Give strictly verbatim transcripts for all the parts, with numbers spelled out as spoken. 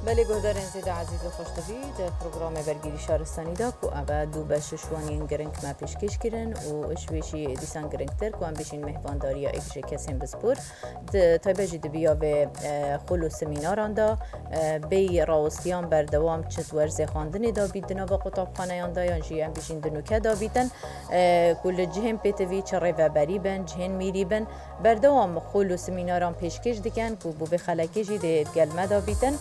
Belê guhdarên zêde ezîz û xweşdivî, di programê Bergîrî Şaristanî de ku ev e du beş ji wan yên giring me pêşkêş kirin û ji wê jî dîsan giringtir ku em bêjin mêhvandariya êk ji kesên pispor, di taybet jî di biya vê, e, xul û semînaran de, e, bêyî rawistiyan berdewam çi di werzê xwendinê de bît di nava qutabxaneyan de yan jî em bêjin di nûke de bîtin, e, ku li cihên pêtivî çi rêveberî bin, cihên mîrî bin, berdewam xul û semînaran pêşkêş dikin ku bo vê xelekê jî dê gel me de bîtin.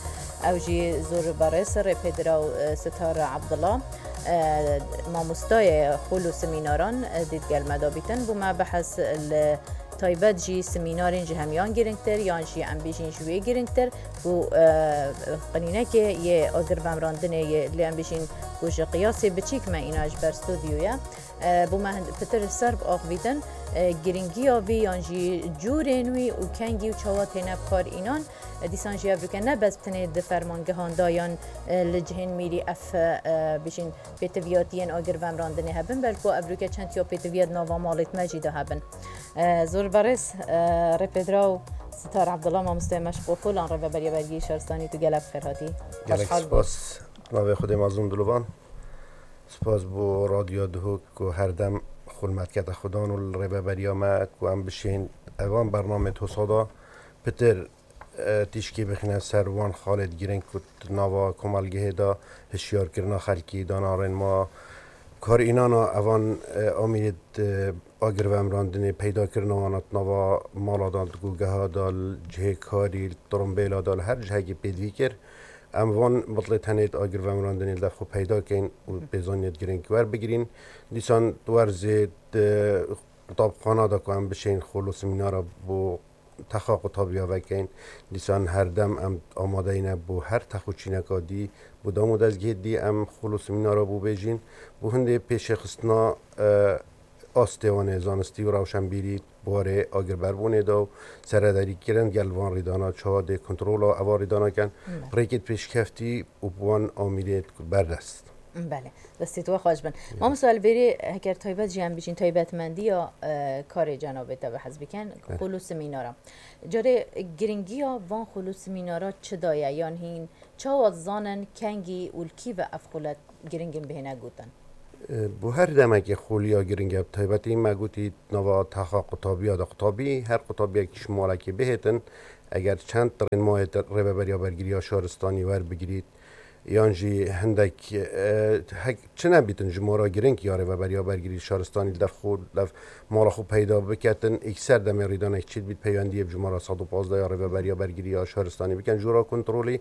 Ew jî zor berêz rêpêdiraw, e, Sitar Abdullah, e, mamostayê xul û semînaran, e, dê gel me de bîtin. Bo me behs li taybet jî semînarên ji hemiyan giringtir yan jî em bêjin ji wê giringtir ku, e, qenînekê yê agir vemrandinê yê lê em bêjin ku ji qiyasê biçîk me îna ji ber stûdyoya. E, bo me hind-, pitir ser biaxivîtin, e, giringiya vî yan jî cûrên wî û kengî û çawa têne bi kar înan. E, dîsan jî ev bike ne bes tenê di fermangehan de yan, e, li cihên mîrî ev, e, bêjin pêtiviyatiyên agir vemrandinê hebin, belku ev bike çend ya pêtiviya di nava malê me jî de hebin. E, zor berêz, e, rêpêdiraw Sitar Abdullah, mamosteyê me ji Qofulan, rêveberiya Bergî Şaristanî, tu gelek bi xêr hatî. Gelek Xweşhal bî. Spas. Navê Xwedê mezin dilovan. Spas bo Radyo Duhok ku her dem xulmetkete xudan û li rêveberiya me ku em bişên evan bernamê tosa da pitir, e, tîşkî bixîne ser wan xalêt giring ku di nava komelgehê de hişyarkirina xelkî, dana rênma, kar înana evan, e, amîrê di agir vemrandinê, peydakirina wana di nava mala de, di gugeha de, li cihê karî, li tirimbêla de, li her cihekî pêdivî kir. Em van bitlê tenê di agir vemrandinê li dev xwe peyda keyn û pêzaniyê di giring werbigirîn. Dîsan di werzê di qutabxana de ku em bişên xol û semînara bo texa qutabiya vekeyn. Dîsan her dem em amadeyî ne bo her tex û çîneka dî, bo dam û dezgehê dî em xol û semînara bo bêjîn. Bo hindê pêşêxistina, e, astê wan ê zanistî û rewşenbîrî di warê agirberbûnê de û serederî kirin gel van rîdana çawa dê kontrola eva rîdana ken, Evet. rêkê pêşkeftî û bi wan amîrê berdest. Belê, destê we xweş bin. Mamosta Elvêrî, heker taybet jî em bijîn taybetmendiya, e, karê cenabê te bi hez bikin, Evet. xul û semînara. Carê giringiya van xul û semînara çi da ye? Yan hîn çawa zanin kengî û li kî ve ev xulet giringin bihêne gotin? E, bo her demekê xoliya giring e, bi taybetî me gotî nava texa qutabiya de qutabî, her qutabiyek ji malekê bihêtin, eger çend rênmayê te rêveberiya bergiriya şaristanî werbigirît, yan jî hindek, e, hek çi nebîtin ji mara giring ya rêveberiya bergirî şaristanî li dev xwe, li dev mala xwe peyda biketin, îkser demê rîdanek çêdibît peywendiyê bi ji mara sed û pazdeh ya rêveberiya bergirî ya şaristanî bikin. Jora kontrolî,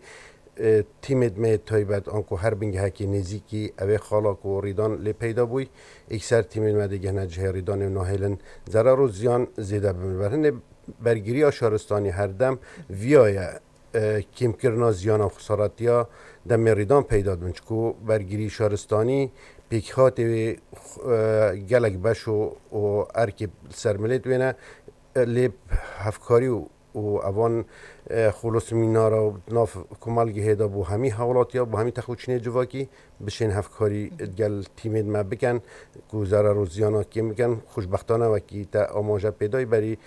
e, tîmêd me yê taybet, anku her bingehekê nêzîkî, ew ê xala ku rîdan lê peyda bûy, îkser tîmêd me digihne cihê rîdanê û nahêlin zerar û ziyan zêde bibin. Ber hindê bergiriya şaristanî her dem viya ye, e, kêmkirina ziyana xusaretiya demê rîdan peyda dibin. Çiku bergirî şaristanî pêkhatê wê, e, gelek beş û, û erkê li ser milêt wê ne, e, lê hevkarî û û evan, e, xulûsmînara û nav komelgehê de bo hemî hewlatiya, bo hemî texûçînê civakî bişên hevkarî gel tîmên me bikin ku zerar û ziyana kêm bikin. Xweşbextane wekî te amaje pê dayî berî,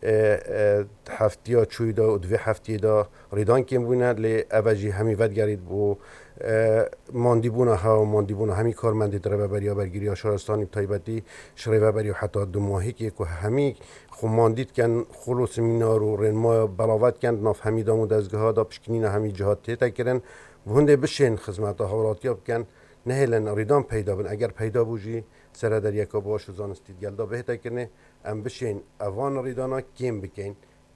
e, e, heftiya çûyî de û di vê heftiyê de rêdan kêm bûne, lê ev e jî hemî vedigerît bo, e, mandîbûna hewa, mandîbûna hemî karmendê di rêveberiya bergiriya şaristanî bi taybetî ji rêveberiya heta dumahîkê ku hemî xwe mandî dikin, xulûsmînar û rênmaya belav dikin, di nav hemî dam û dezgeha de pişkinîna hemî cihat tête kirin. Bi hindê bişên xizmeta hawlatiya bikin, nehêlin rîdan peyda bin. Eger peyda bû jî, serederiyeka baş û zanistî di gel de bihête kirinê. Em bişên evan rîdana kêm bikeyn.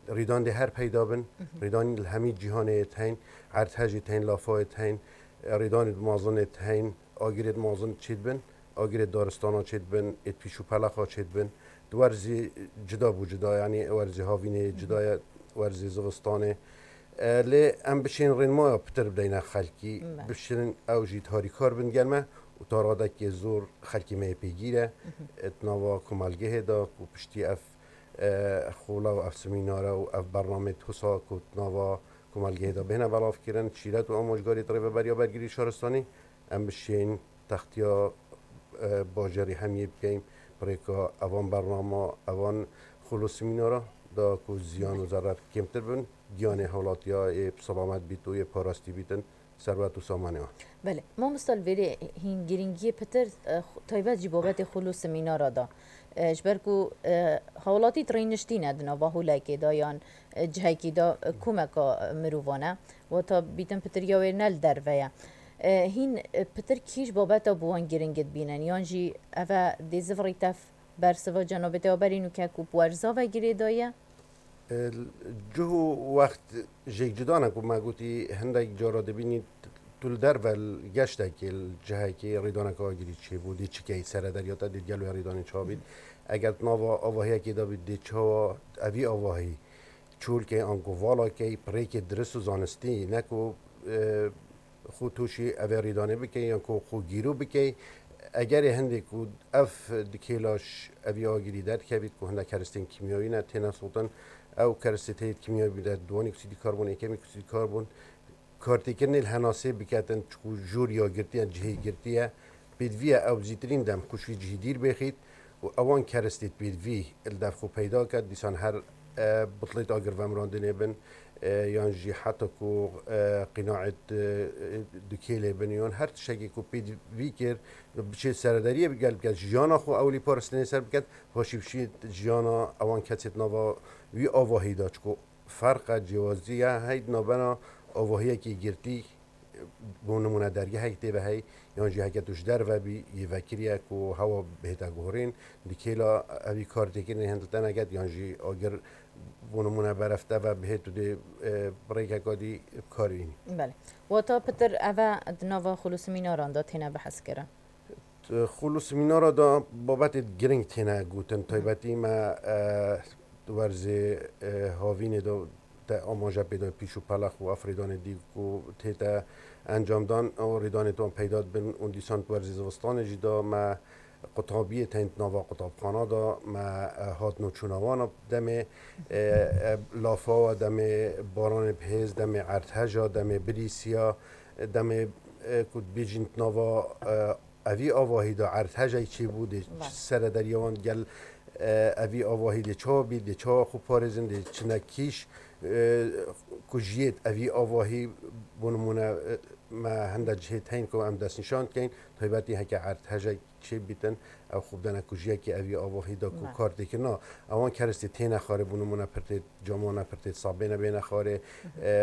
Rîdan dê her peyda bin. Mhm. Rîdan li hemî cîhanê yê teyn, erdhejê teyn, lafayê teyn, rîdanê di mazinê teyn, agirê di mazin çêdibin, agirê daristana çêdibin, ê pîş û pelexa çêdibin. Di werzî cida bû cida, yanî werzî havînê cida ye, werzî zivistanê. E, lê em bişên rênmaya pitir bideyne xelkî, Be. bişin ew jî harîkar bin gel me û ta radekê zor xelkê me yê pêgîr e. Mhm. E, di nava komelgehê de ku piştî ev, e, xola û ev semînare û ev bernamê tosa ku di nava komelgehê de bihêne belavkirin, şîret û amojgarî di rêveberiya bergirî şaristanî, em bişên textiya, e, bajarî hemiyê bikeyn, bi rêka evan bernama, evan xulûsmînara da ku ziyan û zerar kêmtir bin. giyanê hewlatiya ê selamet bît û yê parastî bîtin serwet û samanê wan. Belê. Mamosta, li vêrê hîn girîngiyê pitir, e, xu-, taybet jî babetê xul û simînara da. E, ji ber ku, e, hewlatî di rêniştî ne di nava holekê de yan, e, cihekî de, e, komeka, e, mirovan e. Wata bîtin pitir ya wê ne li derve ye. E, hîn, e, pitir kî ji babeta bi wan giring dibînin? Yan jî ev e dê zivirî tev bersiva cenabê te ya berî nûke ku bi werza ve girêdaye? Cih û wext jêk cuda ne ku me gotî, hindek cara dibînî tu li derve li geştekê, li cihekê rêdaneke agirî çêbû, dê çi key serederiya te, dê gel wê rêdanê çawa bît. Eger tu nava avahiyekê de bî, dê çawa evî avahî çolkey anku valakey, bi rêkê dirist û zanistî, ne ku, e, xwe tûşî evê rêdanê bikey yan ku xwe gîrû bikey. Egerê hindê ku ev dikêla ji evî agirî derdikevît ku hindek keristên kîmyawî ne têne sotin, ew keristê tê yê kîmyawî bide, duwanî oksîdî karbon, êkemî oksîdî karbon, kartêkirinê li henasê biketin, çiku jûr ya girtiye, cihê girtiye, pêdivî ye ew zîtirîn dem xwe ji vî cihî dîr bêxît û ewan keristê pêdivî li dev xwe peyda ket, dîsan her, e, bitlêt agir vemirandinê bin, e, yan jî heta ku, e, qînaet, e, dukêlê bin, yan her tiştekê ku pêdivî kir, biçê seredariyê bi gel biket, jiyana xwe ewlî parastinê ser biket, paşî bişît jiyana ewan kesê di nava wî avahî de, çiku ferq e, cêwazî ye, hey di navbena avahiyekî girtî, bo nimûne dergehek tê ve hey, yan jî heke tu ji derve bî, yê vekirî ye ku hewa bihête guhorîn, di kêla evî kartêkirinê hin di te neket, yan jî agir, bo nimûne beref te ve bihê tu dê, e, bi rêkeka dî bi kar bînî. Belê. Wata pitir ev e di nava xulûsimînaran de têne bihezkirin? Xulûsimînara de babetê giring têne gotin. Taybetî me, e, di werzê, e, havînê de te amaje pê de pîş û pelex û ev rêdanê dî ku tête encamdan, ew rêdanê wan peyda dibin û dîsan di werzê zivistanê jî de me qutabiyê tên di nava qutabxana de me, e, hat nûçûna wan demê, e, e, lafa we demê baranê bihêz, demê erdheja, demê birîsiya, demê, e, ku dibêjin di nava, e, evî avahî de erdhejek çêbû, dê serederiya wan gel, e, evî avahî dê çawa bî, dê çawa xwe parêzin, dê çine kîş, e, ku jiyêt evî avahî, bo nimûne, e, me hinde cihê teyn ku em destnîşan dikeyn, taybetî heke erdhejek çêbîtin, ew xwe bidene ku jiyekê evî avahî de ku kar têkirina, ewan keristê têne xwarê, bo nimûne pirtê camane, pirtê sabêne bêne xwarê, e,